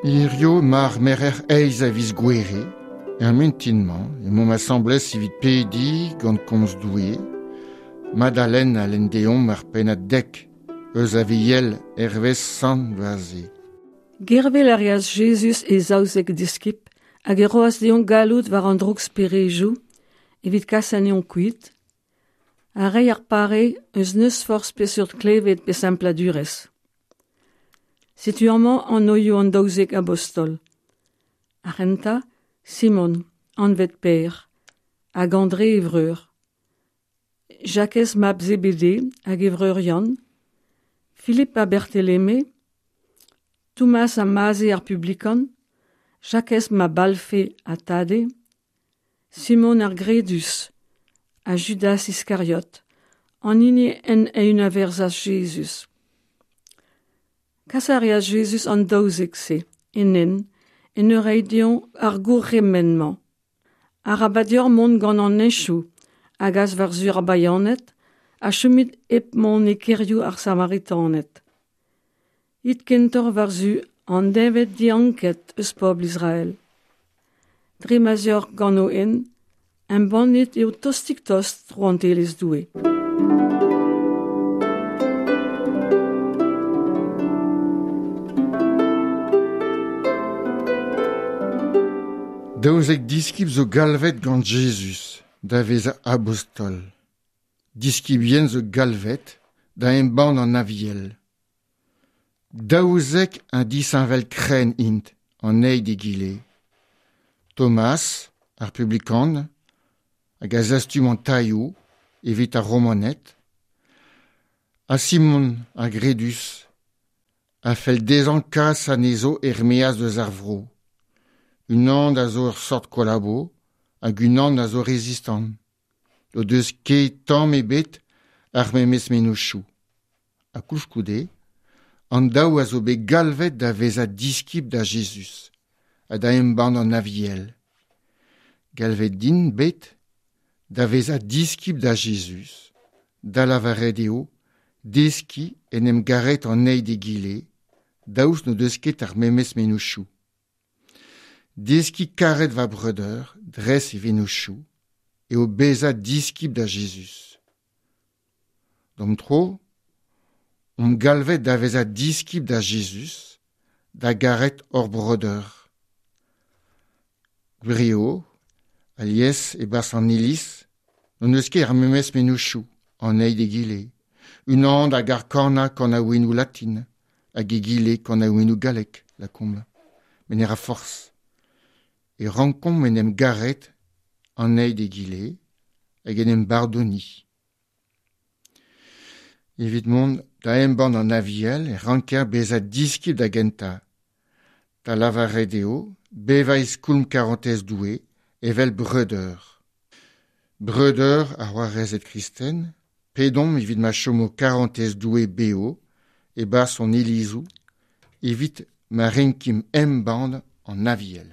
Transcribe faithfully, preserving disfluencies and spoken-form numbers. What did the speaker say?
Hirio mar merer eiz a viz gouere, er mintin-mañ, emaomp asambles evit pedi gant komz Doue, Madalen a lenn deomp ar pennad dek eus a viel hervez Sant Vaze. Gervel a reas Jezuz e zaouzek diskib hag e roas dezhañ galloud war an droug-sperejoù evit kas anezhañ kuit, ha reiñ ar pare eus n'eus forzh peseurt klevet pe sempladurezh. Setu amañ anvioù an daouzek abostol. Ar c'hentañ, Simon, anvet Pêr, hag André e vreur. Jakez mab Zebede hag e vreur Yann, Philippe ha Bertheleme, Thomas ha Maze ar publikan, Jakez mab Alfe ha Tade, Simon ar Gredus ha Judas Iskariot, an hini en eeun a verzas Jezuz. Kas a reas Jezuz an daouzek-se, en hent, en ur reiñ dezhañ ar gourc'hemenn-mañ. Arabat deoc'h mont gant an hentoù hag as war-zu ar Bayaned ha chomit hep mont e kêrioù ar Samaritaned. It kentoc'h war-zu an deñved dianket eus pobl Israel. Dre ma 'z eoc'h gant ho hent, embannit eo tostik-tost rouantelezh Doue. Daouzek diskib zo galvet gant Jezuz da vezañ abostol. Diskibien zo galvet da embann an Aviel. Daouzek un disheñvel krenn int an eil d'egile. Thomas, ar publikan, hag a zastum an tailhoù evit ar Romaned, ha Simon ar Gredus, a fell dezhañ kas anezho er-maez eus ar vro. Unan a zo ur sort kolabo hag unan a zo rezistant. O deus ket tamm ebet ar memes mennozhioù. Ha koulskoude, an daou a zo bet galvet da vezañ diskib da Jezuz ha da embann an Aviel. Galvet int bet da vezañ diskib da Jezuz, da lavaret eo deskiñ en em garet an eil d'egile, daoust n'o deus ket ar memes mennozhioù. Deskiñ karet va breudeur, dres e vennozhioù, eo bezañ diskib da Jezuz. D'am tro, omp galvet da vezañ diskib da Jezuz, da garet hor breudeur. Gwir eo, alies e-barzh an iliz, n'hon eus ket ar memes mennozhioù an eil d'egile. Unan a gar kanañ kanaouennoù latin, hag egile kanaouennoù gallek, lakaomp. Met ne ra forzh. E rankomp en em garet an eil d'egile hag en em bardoniñ. Evit mont da embann an Aviel e ranker bezañ diskib da gentañ. Da lavaret eo bevañ e skoulm karantez Doue evel breudeur. Breudeur ha c'hoarezed kristen, pedomp evit ma chomo karantez Doue bev e-barzh hon ilizoù, evit ma renkimp embann an Aviel.